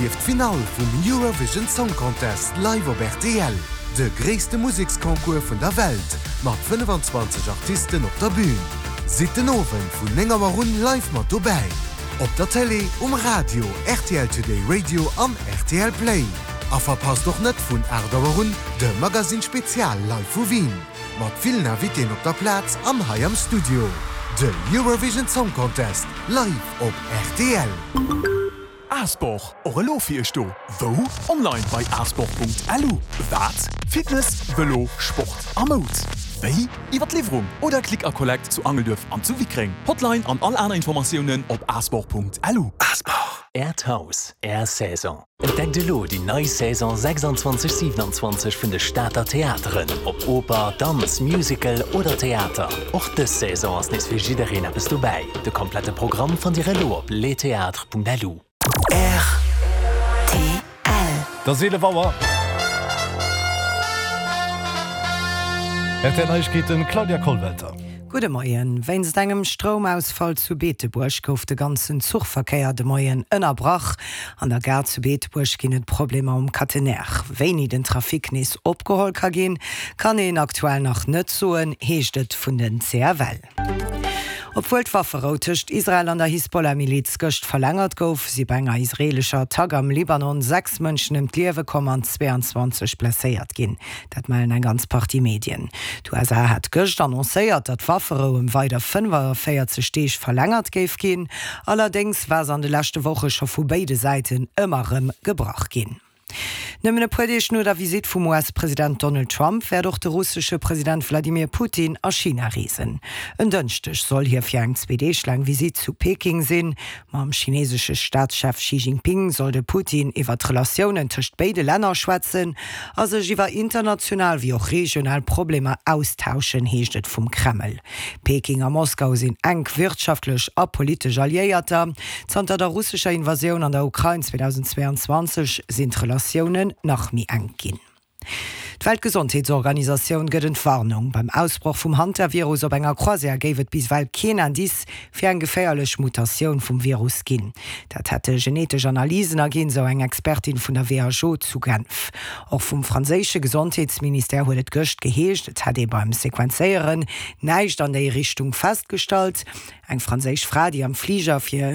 Erlieft d'Finall vum Eurovision Song Contest live op rtl, de gréisste Museksconcours vun der Welt mat 25 Artisten op der Bün. Sidd den Owend vun 9 Auer un live mat dobäi, op der Télé, um Radio, rtl Today Radio an rtl Play. A verpasst och net vun 8 Auer un de Magazine Spezial live vu Wien, mat villen Invitéen op der Plaz an hei am Studio. De Eurovision Song Contest live op rtl. Asport, och elo fir iech do. Wou? Online bei asport.lu. Wat? Fitness, Vëlo, Sport a Moud. Wéi? Iwwer d'Liwwerung oder Click a Collect zu Angelduerf an zu Wickreng. Hotline an all aner Informatiounen op asport.lu. Asport. Äert Haus, Är Saison. Entdeckt elo déi nei Saison 26, 27 vun de Stater Theateren, ob Oper, Danz, Musical oder Theater. Och dës Saison ass nees fir jiddereen eppes dobäi. De komplette Programm fannt Dir elo op lestheatres.lu. Rtl. Et ass 11 Auer. Rtl Neiegkeeten, Claudia Kollwelter. Gudde Moien. Wéinst engem Stroumausfall zu Beetebuerg gouf de ganzen Zuchverkéier de Moien ënnerbrach. An der Gare zu Beetebuerg ginn et Problemer um Catenaire. Wéini den Trafic nees opgeholl ka ginn, kann een aktuell nach net soen, heescht et vun den CFL. Obwuel d'Wafferou tëscht Israel an der Hisbollah-Miliz gëscht verlängert gouf, si bei enger israeelescher Attack am Libanon 6 Mënschen ëm d'Liewe komm an 22 blesséiert ginn. Dat mellen eng ganz Partie Medien. D'USA hat gëscht annoncéiert, datt d'Wafferou ëm weider 45 Deeg verlängert géif ginn. Allerdéngs war se an de leschte Woche scho vu béide Säiten ëmmer erëm gebrach ginn. Nëmmen e puer Deeg no der Visitt vum US-President Donald Trump wäert och de russesche President Wladimir Putin a China reesen. En Dënschdeg soll hie fir eng zweedeeg laang Visitt zu Peking sinn. Mam chinesesche Staatschef Xi Jinping soll de Putin iwwer d'Relatiounen tëscht béide Länner schwätzen a sech iwwer international wéi och regional Problemer austauschen, heescht et vum Kreml. Peking a Moskau sinn enk wirtschaftlech a politesch Alliéierter. Zanter der russescher Invasioun an der Ukrain 2022 sinn d'Relatiounen nach méi enk ginn. D'Weltgesondheetsorganisatioun gëtt Entwarnung. Beim Ausbroch vum Hantavirus op enger Croisière géif et bis ewell keen Indice fir eng geféierlech Mutatioun vum Virus ginn. Dat hätte genetesch Analysen erginn, sou eng Expertin vun der WHO zu Genf. Och vum franséische Gesondheetsministère huet et gëscht geheescht, et hätt ee beim Sequenzéieren näischt an déi Richtung festgestallt. Eng franséisch Fra, déi am Fliger fir.